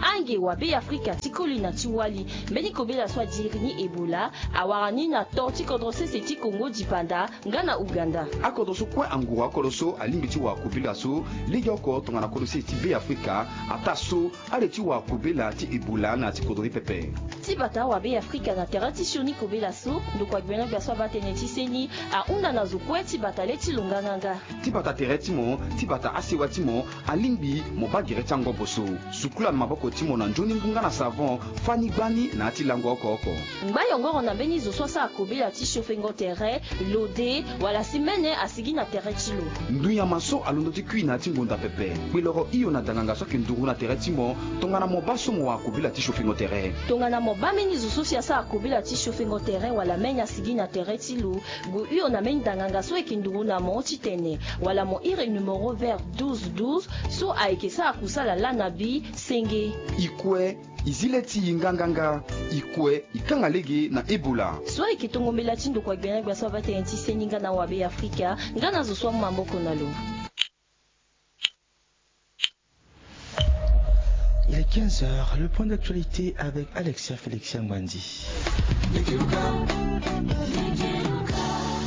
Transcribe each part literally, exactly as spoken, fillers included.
Ange wa Be Afrika ti koli na ti wali, mbeni kobela so adiri ni Ebola awara ni na to ti kodro sese ti Kongo dipanda nga na Ouganda. Akodro so kue anguru akodro so alingbi ti wara kobela so legeoko tongana kodro sese ti Be Afrika ataa so ale ti wara kobela ti Ebola na ya ti kodro ni pepe. Ti bata wa Be Afrika na tere ti sioni kobela so ndokua gbia na gbia so abaa tënë ti seni ahunda na zo kue ti bata le ti lo nganganga. Ti bata tere ti mo, ti bata asewa ti mo, alingbi mo baa gere ti angobo so. Sukula maboko ti mo na nzoni ngu nga na savon, fani gbani na ya ti lango oko oko. Ngba yongoro na mbeni zo so asara kobela ti siofengo tere, lode, wala si mene asigi na tere ti lo. Ndunyama so alondo ti kui na ya ti ngonda pepe, kpeloro hio na danganga so ayeke nduru na tere ti mo tongana mo baa so mo wara kobela ti siofengo tere. Tongana mo baa mbeni zo so si asara kobela ti siofengo tere wala mene asigi na tere ti lo, gue hio na mbeni danganga so ayeke nduru na mo titene wala mo iri numero vert douze douze so ayeke sara kusala lana bi senge. E kue e zi le ti e nganganga. E kue e kanga lege na Ebola. So ayeke tongo mbela ti ndokua gbia na gbia so abaa tënë ti seni nga na wa Be Afrika nga na zo so amu maboko na lo. Il est quinze heures, le point d'actualité avec Alexia Félix Yangwandi.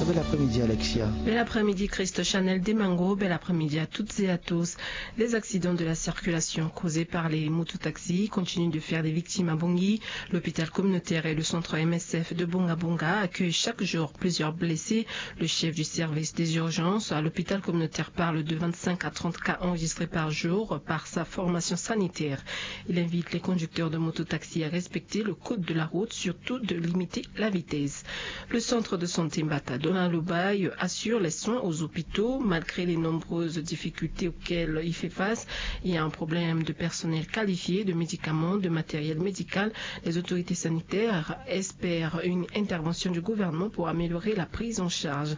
Bel après-midi, Alexia. Bel après-midi, Christ Chanel Demango. Bel après-midi à toutes et à tous. Les accidents de la circulation causés par les mototaxis continuent de faire des victimes à Bangui. L'hôpital communautaire et le centre M S F de Bonga Bonga accueillent chaque jour plusieurs blessés. Le chef du service des urgences à l'hôpital communautaire parle de vingt-cinq à trente cas enregistrés par jour par sa formation sanitaire. Il invite les conducteurs de mototaxi à respecter le code de la route, surtout de limiter la vitesse. Le centre de santé Mbata Dona Lobaye assure les soins aux hôpitaux. Malgré les nombreuses difficultés auxquelles il fait face, il y a un problème de personnel qualifié, de médicaments, de matériel médical. Les autorités sanitaires espèrent une intervention du gouvernement pour améliorer la prise en charge.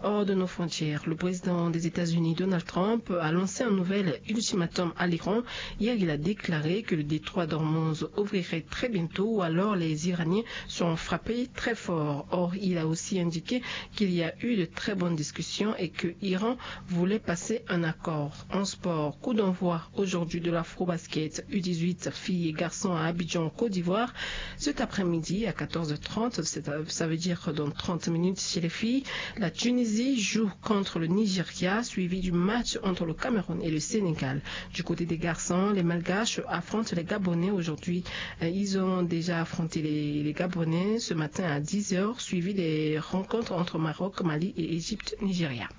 Hors de nos frontières, le président des États-Unis, Donald Trump, a lancé un nouvel ultimatum à l'Iran. Hier, il a déclaré que le détroit d'Ormuz ouvrirait très bientôt ou alors les Iraniens seront frappés très fort. Or, il a aussi indiqué qu'il y a eu de très bonnes discussions et que Iran voulait passer un accord. En sport, coup d'envoi aujourd'hui de l'Afrobasket U dix-huit filles et garçons à Abidjan, Côte d'Ivoire. Cet après-midi à quatorze heures trente, c'est, ça veut dire dans trente minutes chez les filles, la Tunisie joue contre le Nigeria, suivi du match entre le Cameroun et le Sénégal. Du côté des garçons, les Malgaches affrontent les Gabonais aujourd'hui. Euh, ils ont déjà affronté les, les Gabonais ce matin à dix heures, suivi des rencontres entre Maroc, Mali et Égypte, Nigeria.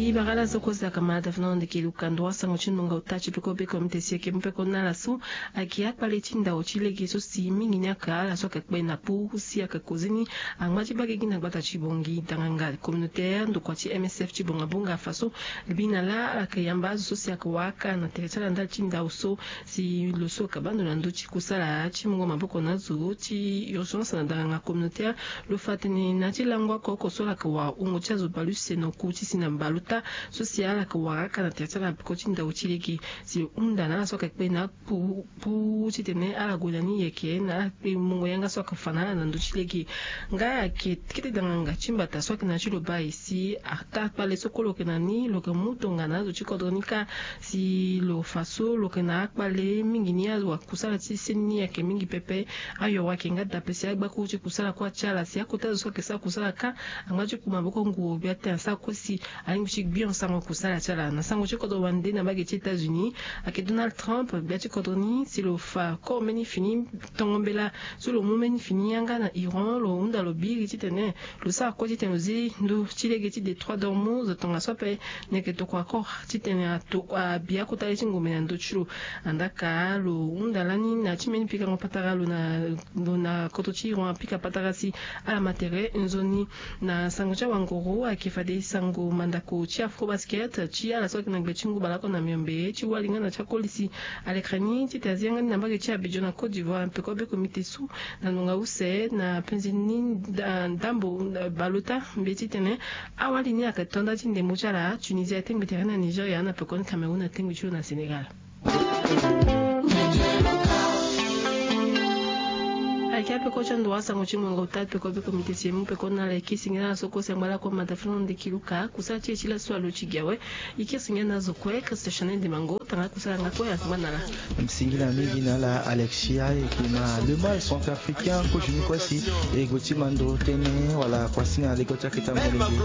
E bagala so kue si ayeke ma da fana na ndeke luka ndua sango ti nonga ota ti peko be komite si ayeke mu peko na ala so ayeke akpale ti ndao ti lege so si mingi ni ayeke ala so ayeke kpe na pu si ayeke koze ni angba ti baa gigi na gbata ti Bangui. Danganga communautaire ndokua ti M S F ti Bonga Bonga afa so, bi na laa ala yeke yamba azo so si ayeke waka na tere ti ala ndali ti ndao so si lo so ayeke baa ndo na ndö ti kusala ti mungo maboko na azo ti urgence na danganga communautaire. Lo fa tene na ya ti lango oko oko so ala yeke wara wungo ti azo bale use na oku ti si na mbale ota so si ala yeke wara aka na tere ti ala peko ti ndao ti lege si lo hunda na ala so ayeke kpe na pu pu titene ala gue na ni yeke na ala kpe mungo yanga so ayeke fa na ala na ndö ti lege. Nga ayeke kete danganga ti mbata so ayeke na ya ti lo baa e si ata akpale so kue lo yeke na ni lo yeke mu tongana azo ti kodro ni kâ si lo fa so lo yeke na akpale mingi ni azo akusala ti seni ni ayeke mingi pepe. Ayo ayeke nga dape si agbakuru ti kusala kue atia ala si akota azo so ayeke sara kusala kâ angba ti ku maboko nguru gbia tene asara kue si alingbi ti gbio sango kusala ti ala na sango ti kodro wande na mbage ti États-Unis. Ayeke Donald Trump gbia ti kodro ni si lo fa koro mbeni fini tongo mbela so lo mu mbeni fini yanga na Iran lo hunda lo biri titene lo sara kue titene lo zi ndö ti lege ti détroit d'Ormuz tongaso ape. Ni ayeke tokua koro titene ato abi akota ye ti ngombe na ndö ti lo. Andaa ka lo hunda lani na ya ti mbeni pikango patara lo na lo na koto ti Iran apika patara si ala ma tere nzoni. Na sango ti awanguru ayeke fade sango mandako ti Afrobasket ti ala so ayeke na gbe ti ngu baleoko na miombe ti wali nga na ti akoli si alekere ni titene azi yanga ni na mbage ti Abidjan na Côte d'Ivoire peko be komite so na ngonga use na penze ni ndambo baleota mbi titene awali ni ayeke to nda ti ndembo ti ala. Tunisie atengbi tere na Nigeria na pekoni Cameroun atengbi ti lo na Sénégal. Ayeke ape kue ti ando wa sango ti mongo ota peko be komite ti emu peko na ala yeke singila na so kue sengba lakue mata fana ndeki luka kusala ti e ti laso alo ti gi awe. Yeke singila na azo kue Christian Chanet Demango tanga kusala nga kue asengba na ala. Singila mingi na ala Alexia eke na le mal centrafricain ko juni kue si e gue ti mando tene wala kuasinga na lego ti aketa molenge.